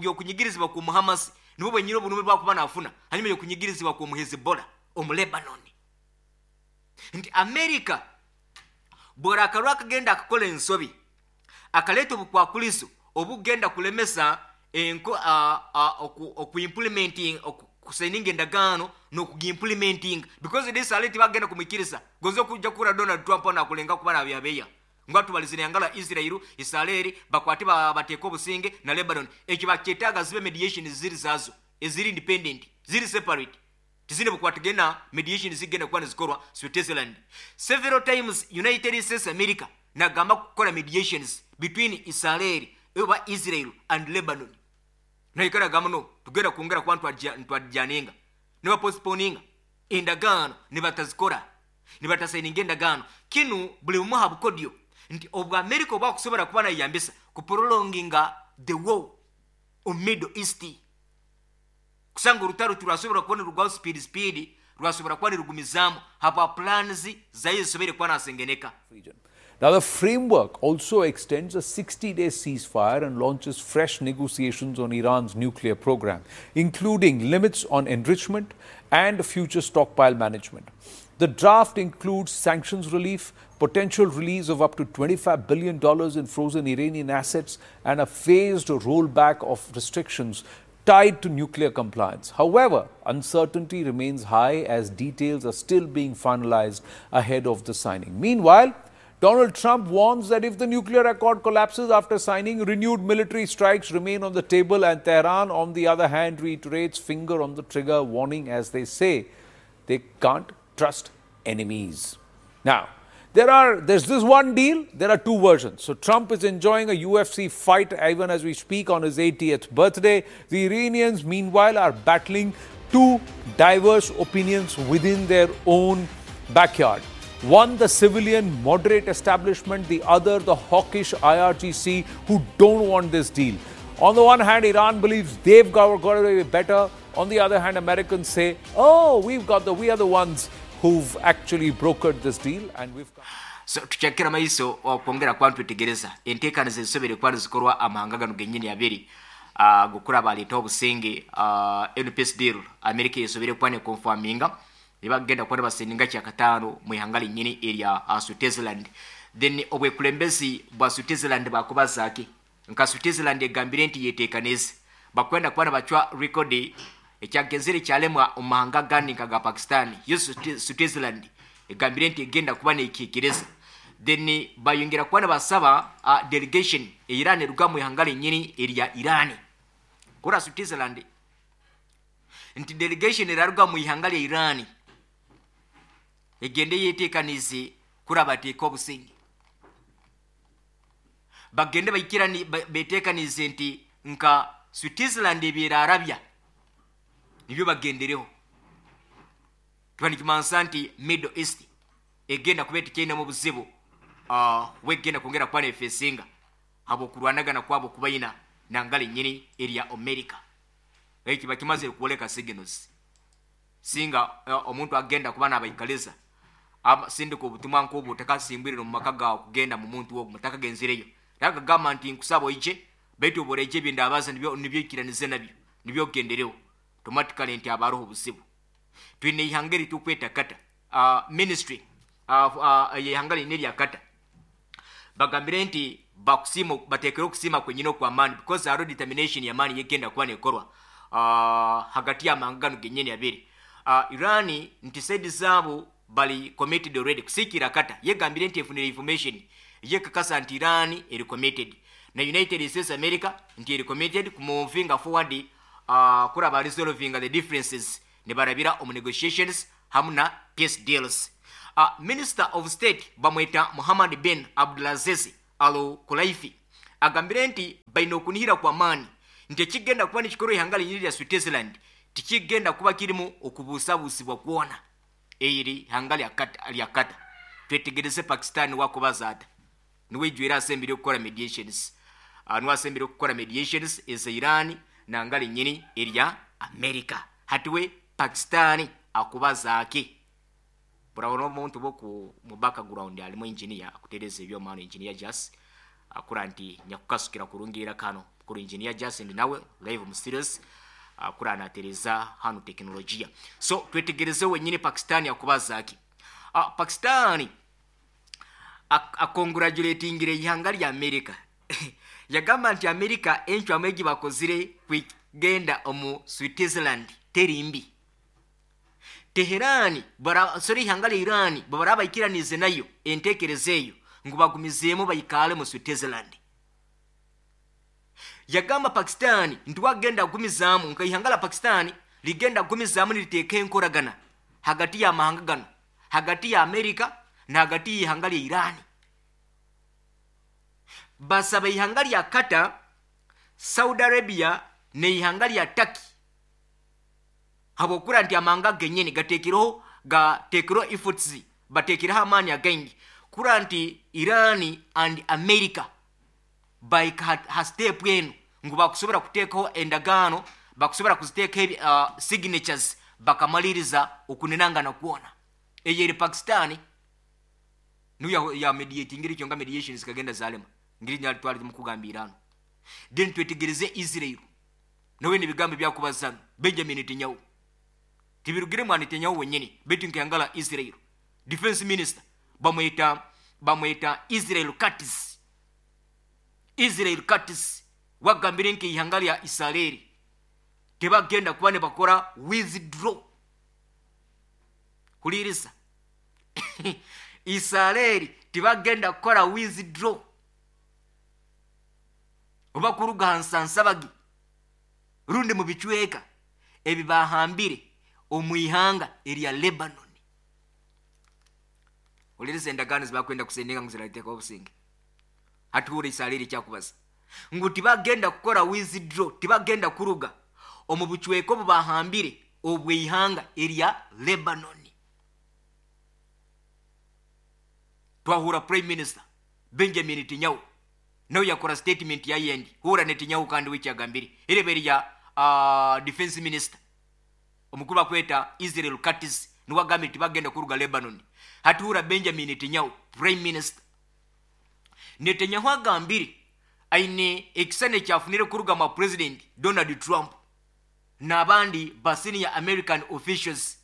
y'okunyigirizibwa ku Hamas nibwo bwenyine oburumi bwakuba nafuna hanyuma y'okunyigirizibwa ku Hezbollah omu Lebanon. Nti America bw'orakarwa akagenda akakora ensobi, akaleeta obukwakulizo obugenda kulemesa enko okuimplementing, kusigninga endagaano n'okugiimplementing, because this aleti bagenda kumwikiriza gonze okujja kukura Donald Trump nakulenga kuba nabyabeya ngo atubalizire yangala Israel, Israeli bakwate bateeka obusinge na Lebanon. Ekyo bakyetaaga zibe mediation ziri zazo eziri independent, ziri separate, tizine bukwatagena. Mediation zigenda kuba nizikorwa Switzerland. Several times United States America nagamba kukola mediations between Israel oba Israel and Lebanon, naikara gamba no tugenda kwongera kuba ntwadjaninga, nibapostponinga endagaano, nibatazikora, nibatasigninga endagaano. Kinu buli bumu ha bukodyo nti obwa America obwakusobola kuba nayambisa kuprolonginga the war omu Middle East, kusanga orutaro turwasobora kuba nirugwaho speed speed, rwasobora kuba nirugumizaamu habwa plans zayo zisobere kuba nasengeneka. Region. Now, the framework also extends a 60-day ceasefire and launches fresh negotiations on Iran's nuclear program, including limits on enrichment and future stockpile management. The draft includes sanctions relief, potential release of up to $25 billion in frozen Iranian assets, and a phased rollback of restrictions tied to nuclear compliance. However, uncertainty remains high as details are still being finalized ahead of the signing. Meanwhile, Donald Trump warns that if the nuclear accord collapses after signing, renewed military strikes remain on the table, and Tehran, on the other hand, reiterates finger on the trigger warning, as they say they can't trust enemies. Now, there's this one deal, there are two versions. So Trump is enjoying a UFC fight even as we speak on his 80th birthday. The Iranians, meanwhile, are battling two diverse opinions within their own backyard. One, the civilian moderate establishment, the other, the hawkish IRGC who don't want this deal. On the one hand, Iran believes they've got it better. On the other hand, Americans say, oh, we are the ones who've actually brokered this deal and we've come. So tukyakira maiso okwongera kuba ntwetegereza enteekaniza ezisobere kuba nizikorwa amahanga gano gennyini abiri gukura baleeta obusinge. NPS deal America esobere kuba neconfirminga, nibagenda kuba nibasigninga kyakataano mu ihanga linnyini erya Switzerland. Then obwekulembezi bwa Switzerland bakubazaaki? Nka Switzerland egambire nti yeteekanize bakwenda kuba nibacwa rekodi ekyagenzere kyalemwa omu mahanga agandi nka ga Pakistan. Yo Switzerland egambire nti egenda kuba nekiikiriza. Then bayongera kuba nibasaba delegation Iran eruga mu ihanga linnyini erya Iran kura Switzerland, nti delegation eraruga mu ihanga lya Iran egende yeteekanize kura bateeka obusinge, bagende baikirani beteekanize nti nka Switzerland ebyerarabya nibyo bagendereho. Kiba nikimansa nti Middle East egenda kuba etikyainamu obuzibu wegenda kwongera kuba nefesinga habwokurwanagana kwabo kubaina nangala ennyini erya America. Ekyo kiba kimazire kuwoleka signals singa omuntu agenda kuba nabaikaliza sindika obutumwa nk'obwo takasimbwirire omu maka gawe kugenda mu muntu ogwo mutakagenzireyo nakagamba nti nkusaba oije, baitu oboreije ebindabaza nibyo nibyo nabyo nibyo ogendereho, automatically nti abaroho obuzibu. Twine ihanga eritukweta kata ministry yehanga lina erya kata bagambire nti bakusiima, bateekere okusiima kwenyini okw'amaani because hariho determination y'amaani yegenda kuba nekorwa hagati y'amahanga gano gennyini abiri. Iran nti side zaabo bali committed already kusiikira kata yegambire nti efunire information yekakasa nti Iran eri committed na United States America nti eri committed kumovinga forward kuraba resolving the differences. Nibarabira omu negotiations hamu na peace deals. Minister of State bamweta Muhammad bin Abdulaziz Al Kulaifi agambire nti baine okunihira kw'amaani nti ekigenda kuba nikikorwa ihanga linyini lya Switzerland tikigenda kuba kirimu okubuusabuusibwa kwona. Eri ihanga lya Qatar. Twetegereze Pakistan wakubaza ata. Niwe ijwire asembire okukora mediations, niwe asembire okukora mediations eza Iran nanga linyini erya America. Hati we Pakistan akubaza ake? Burabona omuntu boku mu background alimu engineer akutereza ebyoma hano, Engineer Jas akura nti nyakukasukira kurungira kano kuru. Engineer Jas ndi nawe live mu studios, akura anatereza hano teknolojia. So twetegereze wenyine Pakistan akubaza aki. Pakistan akongratulatingire ihanga lya America, yagamba nti America encwamu egi bakozire kwigenda omu Switzerland teri mbi. Teherani sorry, ihanga lya Iran bwe baikiranize nayo entekereza eyo ngu bagumizeemu baikale mu Switzerland. Yagamba Pakistan nti wagenda kugumizaamu nka ihanga la Pakistan ligenda kugumizaamu niriteeka enkoragana hagati y'amahanga gano, hagati ya Amerika na hagati y'ihanga lya Iran. Basaba ihanga lya Qatar, Saudi Arabia n'ihanga lya Turkey, habwokura nti amahanga genyini gateekereho efforts, bateekereho amaani againgi kura nti Iran and America baika ha step enu ngu bakusobora kuteekaho endagaano, bakusobora kuziteekaho signatures, bakamaliriza okuninangana kwona. Eyo eri Pakistan niyo ya mediatingire ekyo nga mediation zikagenda zalema ngiri nyali twali mukugamba Iran. Then twetegereze Israel nawe nebigambo byakubazano Benjamin Netanyahu. Tibirugire mwa Netanyahu wenyini, baitu nkayangala Israel defense minister bamweta Israel Katz. Israel Katz wagambire nki ihanga lya Israeli tebagenda kuba ne bakora withdraw. Huliriza, Israeli tibagenda kukora withdraw oba kuruga hansansabagi rundi mu bicweka ebi bahambire omu ihanga erya Lebanon. Huliriza endagaano zibakwenda kusendinga ngu zirateekaho obusinge. Hatuhura Israeli ekyakubaza ngu tibagenda kukora withdraw, tibagenda kuruga omu bucweka obu bahambire obw'ihanga erya Lebanon. Twahura Prime Minister Benjamin Netanyahu nawe yakora statement yayendi. Hura Netanyahu kandi wikyagambire erebe erya defense minister omukuru bakweta Israel Katz niwe agambire tibagenda kuruga Lebanon. Hatuhura Benjamin Netanyahu, Prime Minister Netanyahu agambire aine ekisane kyafunire kuruga mwa President Donald Trump n'abandi ba senior American officials,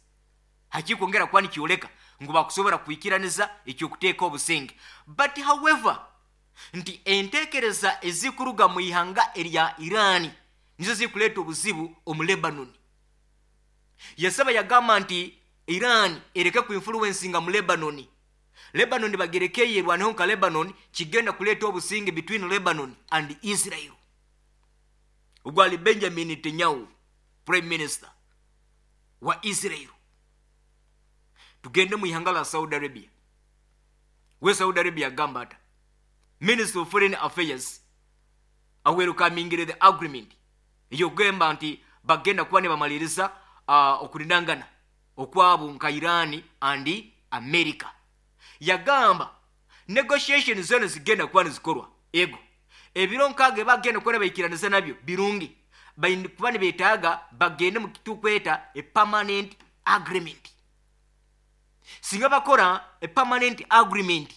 hakikwongera kuba nikyoleka ngu bakusobora kwikiraniza ekyokuteeka obusinge. But however nti entekereza ezikuruga mu ihanga erya Iran nizo zikuleeta obuzibu omu Lebanon. Yasaba, yagamba nti Iran ereke kuinfluencinga mu Lebanon, Lebanon bagereke yerwaneho nka Lebanon, kigenda kuleeta obusinge between Lebanon and Israel. Ogwali Benjamin Netanyahu, Prime Minister wa Israel. Tugende mu ihanga la Saudi Arabia. We Saudi Arabia agamba ata? Minister of Foreign Affairs awelcomingire the agreement eyokugamba nti bagenda kuba ne bamaliriza okulinangana okwabo nka Iran and America. Yagamba negotiation zona zigenda kuba nizikorwa ego ebiro nkaaga bagenda kuba baikiraniza nabyo birungi, kuba nibetaaga bagende mu kitukweta a permanent agreement. Singa bakora a permanent agreement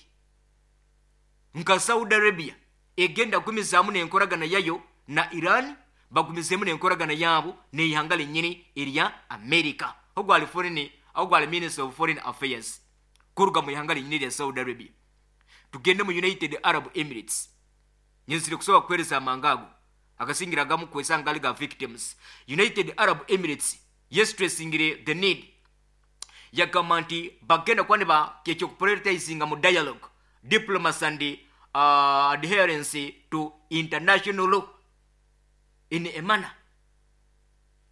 nka Saudi Arabia egenda kugumizaamu n'enkoragana yayo na Iran, bagumizemu n'enkoragana yaabo n'eihanga lenyini erya America. Ogwali foreign, ogwali Minister of Foreign Affairs kuruga mu ihanga lenyini erya Saudi Arabia. Tugende mu United Arab Emirates. Nyenzire kusobola kuheereza amanga ago agasingira agamu kwesanga gali ga victims. United Arab Emirates yestressingire the need, yagamba nti bagenda kuba niba ekyokuprioritizinga mu dialogue, diplomacy and adherence to international law in a manner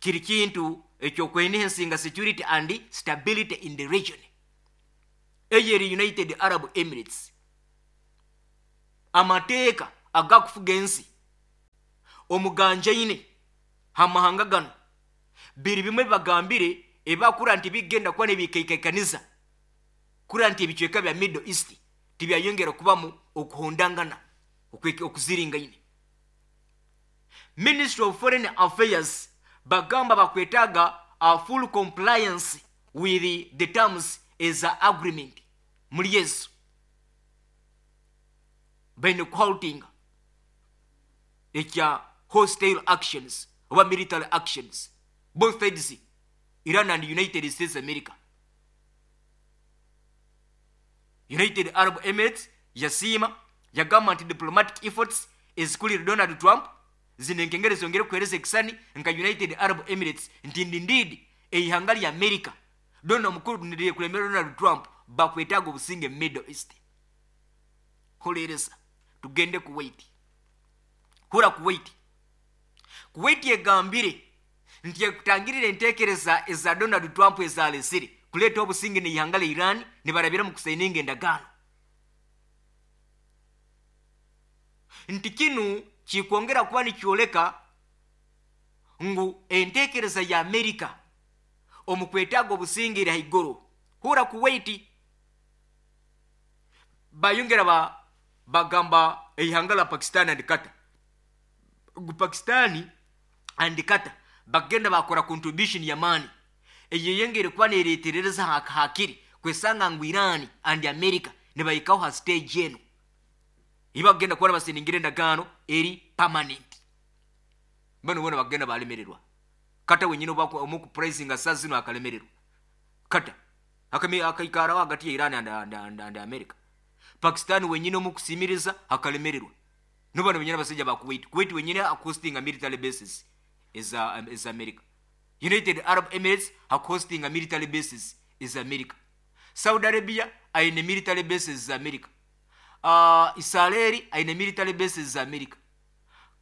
kiri kintu. Ekyokwenhancinga security and stability in the region. Eyo eri United Arab Emirates. Amateeka agakufuga ensi omuganjaine hamahanga gano biri bimwe bibagambire ebakura nti bigenda kuba nebikaikaniza kura nti ebicweka bya Middle East tibyayongera kubamu okuhondangana okuziringaine. Ministry of Foreign Affairs bagamba bakwetaaga a full compliance with the terms eza agreement. Muri yesu baine kuhaltinga ekya hostile actions oba military actions, both sides, Iran and United States America. United Arab Emirates yasiima, yagamba nti diplomatic efforts ezikulire Donald Trump zino enkengere zongere kuhereza ekisani nka United Arab Emirates nti indeed eihanga lya America dona omukuru niryekulembera Donald Trump bakwetaaga obusinge mu Middle East. Hulereza tugende Kuwait. Hura Kuwait. Kuwait egambire nti ekutangirira enteekereza eza Donald Trump ezalesire kuleeta obusinge n'eihanga lya Iran nibarabira mu kusayininga endagaano, nti kinu kikwongera kuba nikyoleka ngu enteekereza ya Amerika omu kwetaaga obusinge eri haiguru. Hura Kuwait bayongera bagamba eihanga la Pakistan and Qatar ngu Pakistan and Qatar bagenda bakora contribution y'amaani eyeyongere kuba nereterereza hakiri kwesanga ngu Iran and America nibayikaho ha stage eno ibagenda kuba basiningire endagaano eri permanent. Bano bona bagenda balemererwa. Kata wenyine omukupricinga saa zino akalemererwa. Kata akaikaraho hagati ya Iran and America. Pakistan wenyine omukusimiriza akalemererwa. Nubano wenyine abasajja ba Kuwait. Kuwait wenyine hostinga military bases eza America. United Arab Emirates hostinga military bases eza America. Saudi Arabia aine military bases za America. Israeli aine military bases za America.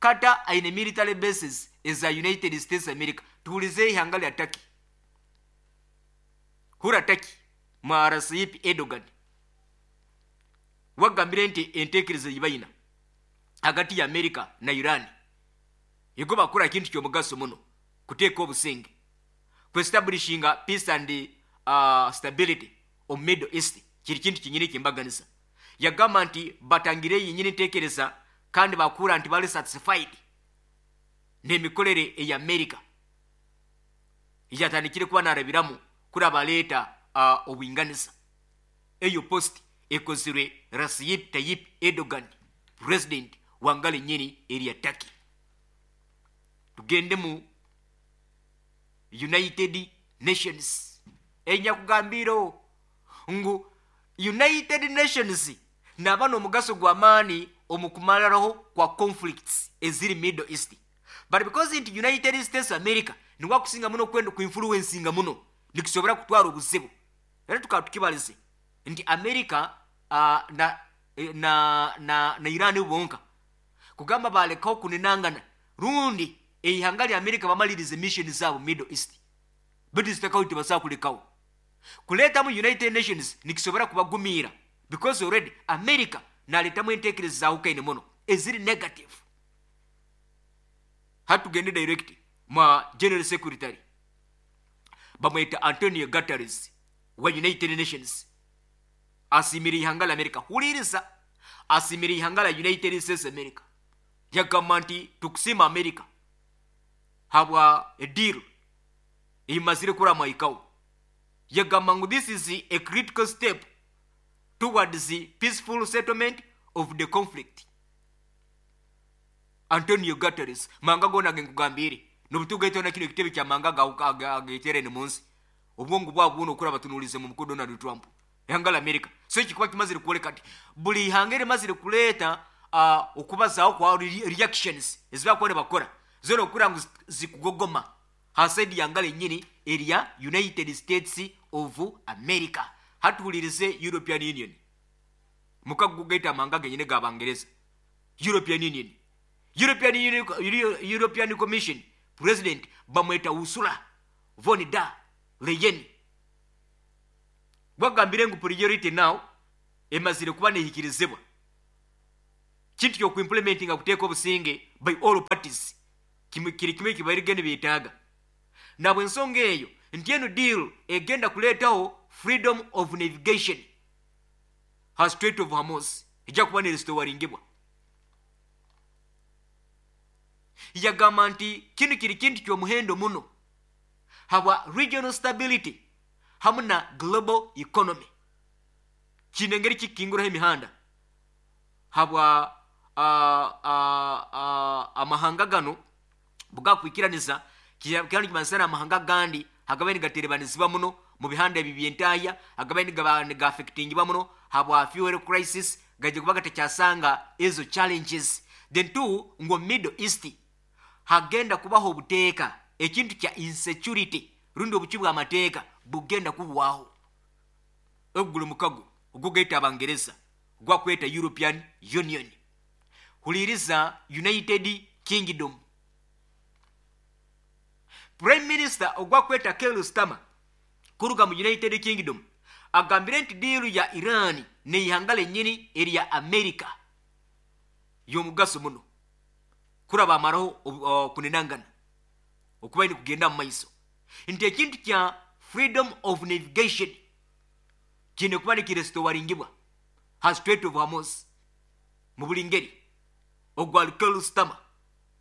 Qatar aine military bases eza United States America. Tuulize ihanga lya Turkey. Hura Turkey mwa Recep Erdogan wagambire nti enteekereza yibayina hagati ya America na Iran ego bakora ekintu ky'omugaso muno kuteeka obusinge kuestablishinga peace and stability omu Middle East kiri kintu kinyini kyembaganisa. Yagamba nti batangire yinyini enteekereza kandi bakura nti bali satisfied n'emikorere eya America yatandikire kuba narabiramu kuri baleeta obwinganiza. Eyo post ekozirwe Recep Tayyip Erdogan, president wangale nyini eri ya Turkey. Tugende mu United Nations. Enyakugambiro ngu United Nations naba n'omugaso gw'amaani omu kumaliraho kwa conflicts eziri Middle East, but because nti United States America niwe akusinga muno kwenda kuinfluencinga muno nikisobora kutwara obuzibu. Era tukaba tukibalize nti America na Iran bonka kugamba balekaho kuninangana rundi eihanga lya America bamalirize mission zaabo Middle East, bitu zitakaho tibasobola kulekaho kuleetamu United Nations nikisobora kubagumira because already America naleetamu enteekereza zaawukaine muno eziri negative. Hatugende direct mwa General Secretary bamweta Antonio Guterres wa United Nations asimira ihanga la America. Huliriza, asimira ihanga la United States America. Yagamba nti tukusima America habwa a deal imazire kura mwaikawo. Yagamba ngu this is a critical step towards the peaceful settlement of the conflict. Antonio Guterres manga gona genkugambire nobutugaito na kino ekitebe kya manga agaiterene munsi obwongo bwabwo buno okura batunulize mu mukuru Donald Trump ihanga la America. So ekikuba kimazire kwoleka nti buli ihanga erimazire kuleeta okubazaaho kwa reactions ezibakuba nibakora zona okura ngu zikugogoma ha side yanga lenyini erya United States of America. Hatuhulirize European Union mukagugaita amanga genyine g'Abangereza. European Union, European Union, European Commission President bamweta Ursula Von der Leyen gwagambire ngu priority now emazire kuba nehikirizibwa kintu kyokuimplementinga kuteeka obusinge by all parties, kiri kimwe kibairige nibeetaaga. Nabwe ensonga eyo nti eno deal egenda kuleetaho freedom of navigation ha Strait of Hormuz, ejja kuba nerestowaringibwa. Yagamba nti kinu kiri kintu ky'omuhendo muno habwa regional stability hamu na global economy. Kine engeri kikinguraho emihanda habwa amahanga gano bugakwikiraniza kandi kimansana amahanga gandi hagabaye nigaterebanizibwa muno mu bihanda ebi byentaya, hagabaye nigaaffectingibwa muno habwa fuel crisis, gajja kuba gatakyasanga ezo challenges. Then two, ngu Middle East hagenda kubaho obuteeka, ekintu kya insecurity rundi obuki bw'amateeka bugenda kubuwaho. Oguli mukago ogugaita Abangereza gwakweta European Union. Huliriza United Kingdom Prime Minister ogwakweta Keir Starmer kuruga mu United Kingdom agambire nti deal ya Iran neihanga lennyini erya America y'omugaso muno kuraba amaraho kunenangana okuba ni kugenda mu maiso, nti ekintu kya freedom of navigation kine kuba nikirestowaringibwa ha Strait of Hormuz mu buli ngeri. Ogwali Keir Starmer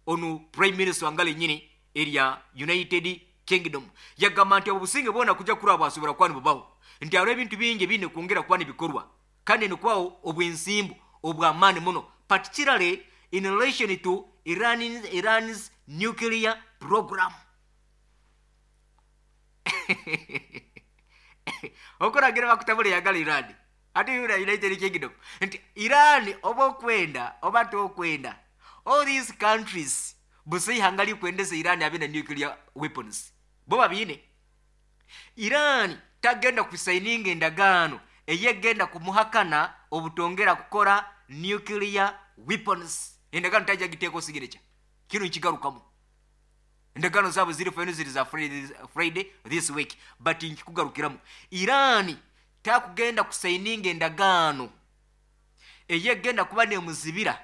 onu Prime Minister wanga lennyini erya United Kingdom yagamba nti obusinge bwona kujja kuraba bwasobora kuba nibubaho, nti hariho ebintu bingi ebine kwongera kuba nibikorwa kandi nikubaho obwensimbu obw'amaani muno, particularly in relation to Iran's nuclear program. Okuragira bakutabula yagala Iran ate yura United Kingdom nti Iran oba okwenda oba tokwenda, all these countries busa ihanga likwendeza Iran abe na nuclear weapons bo babiine. Iran tagenda kusaininga endagaano eyegenda kumuhakana obutongera kukora nuclear weapons. Endagaano tajja giteeka signature, kino nkigarukamu. Endagaano zaabwe ziri final, ziri za Friday this week, but nkikugarukiramu. Iran takugenda kusaininga endagaano eyegenda kuba nemuzibira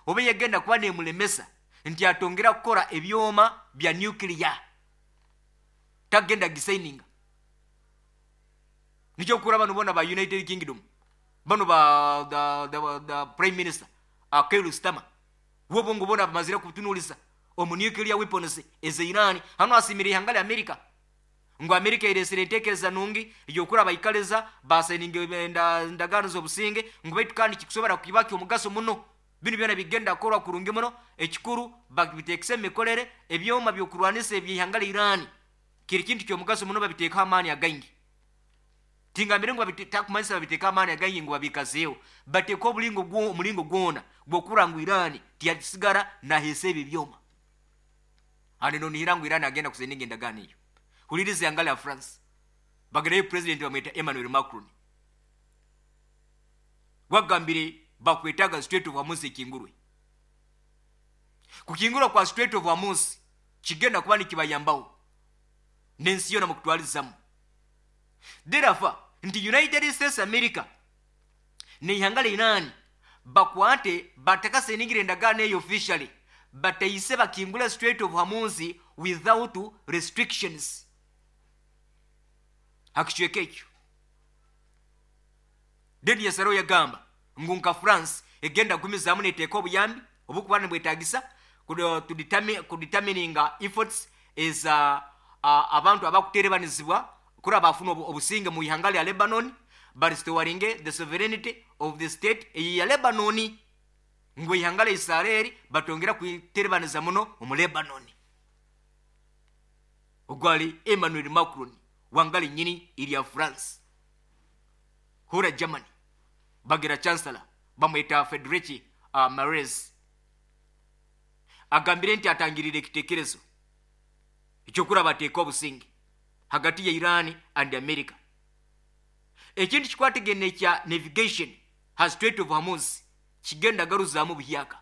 oba eyegenda kuba nemulemesa nti atongera kukora ebyoma bya nuclear, tagenda gisaininga. Nikyo kura bano bona ba United Kingdom bano ba the Prime Minister Keir Starmer wobongo bona bamazire kutunuliza omu nuclear weapons eze Iran. Hano asimire ihanga lya America ngu America eresire entekereza nungi eyokura baikaliza basaininga endagaano z'obusinge ngu baitu kandi kikusobora kibaki omugaso muno. Bino byona bigenda kukorwa kurungi muno, ekikuru babiteekese emikorere ebyoma by'okurwanisa eby'ihanga lya Iran kiri kintu ky'omugaso muno, babiteekaho amaani againgi. Tingambire ngu takumanyisa babiteeka amaani againgi ngu babikazeeho, bateeka omulingo gwona gw'okura ngu Iran tiyasigara naheesa ebyo byoma. Hano nonihira ngu Iran agenda kusaininga endagaano eyo. Huliriza ihanga lya France bagirayo president bamweta Emmanuel Macron, wagambire bakwetaga Strait of Hormuz ekingurwe. Kukingurwa kwa Strait of Hormuz kigenda kuba nikibayambaho n'ensi yona mukutwalizamu. Therefore nti United States America neihanga lya Iran bakwate batakasainingire endagaano eyo officially, bataise bakingula Strait of Hormuz without restrictions. Hakicweka ekyo then yasaro yagamba ngu nka France egenda gumizaamu neteeka obuyambi obukuba nibwetagisa kudetermininga efforts eza abantu abakuterebanizibwa kuri bafuna obusinge mu ihanga lya Lebanon, barestoringe the sovereignty of the state eyi ya Lebanon, ngu ihanga lya Israeli batongera kuterebaniza muno omu Lebanon. Ogwali Emmanuel Macron wangali nyini ilya France. Hura Germany bagira chancellor bamweta Friedrich Merz agambire nti atangirire ekitekerezo ekyokura bateeka obusinge hagati ya Iran and America. Ekintu kikwatagene kya navigation ha Strait of Hormuz kigenda garuzaamu buhyaka,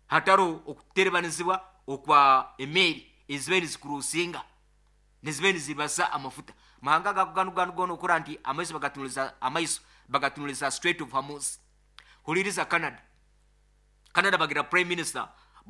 hataro okuterebanizibwa okwa emeri ezibaire nizikurusinga. Nizibe nizibasa amafuta mahanga gako ganu gona okura nti amaiso bagatunuliza, amaiso bagatunuliza Strait of Hormuz. Huliriza Canada. Canada bagira prime minister